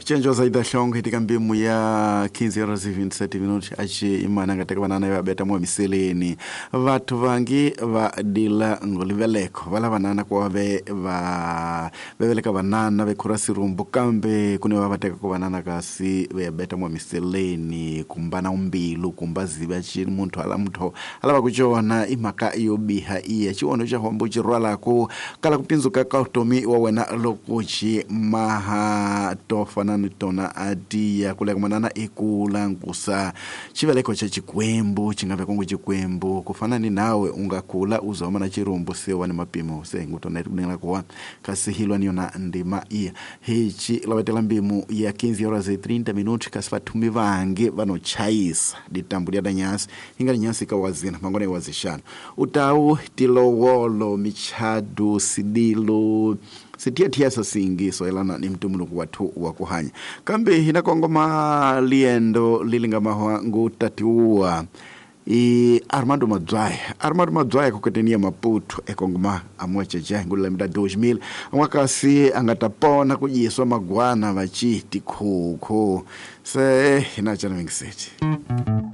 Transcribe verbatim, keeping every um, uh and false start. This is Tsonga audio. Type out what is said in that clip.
Chanjo zaida hlongo hitika mbimu ya quinze horas e vinte e sete minutos achi imana ngateka banana ya beta mwa miseleni vathu vangi va dila ngoliveleko vala banana kwa ve va veveleka banana vekhura sirumbu kambe kune va vateka ku banana kasi ve beta mwa miseleni kumbana umbilu kumbaziva chi muntu ala mutho alava kuchona imhaka yo biha iya chiwono cha hombo chirwala ku kala kupinzuka ka utomi wa wena loko chi maha tofana ni tona adiya kule manana ikula nkusa chiveleko cha chikwembu chingave kongo chikwembu kufana ni nawe ungakula uzoma na chirumbu sewa ni mapimo se ngutona kunela kuwa kasi hilwa niona ndima iya hichi lawetela mbimu ya quinze horas e trinta minutos kasi vathumi vange vanochayisa ditambu lya danyasi inga nyasi kawazina mangone wazishana utau tilowolo michadu sidilo sitiatia sasingiso elana ni mtumuluku watu wa kuhanya kambe hina kongoma liendo lilinga mahwa ngutatiua i Armando Madzwai Armando Madzwai kuketenia Maputo ekongoma amwacheche ngula mda dois mil amwakasi angatapona kujiswa magwana vachiti khuku se hina chana mingiseti.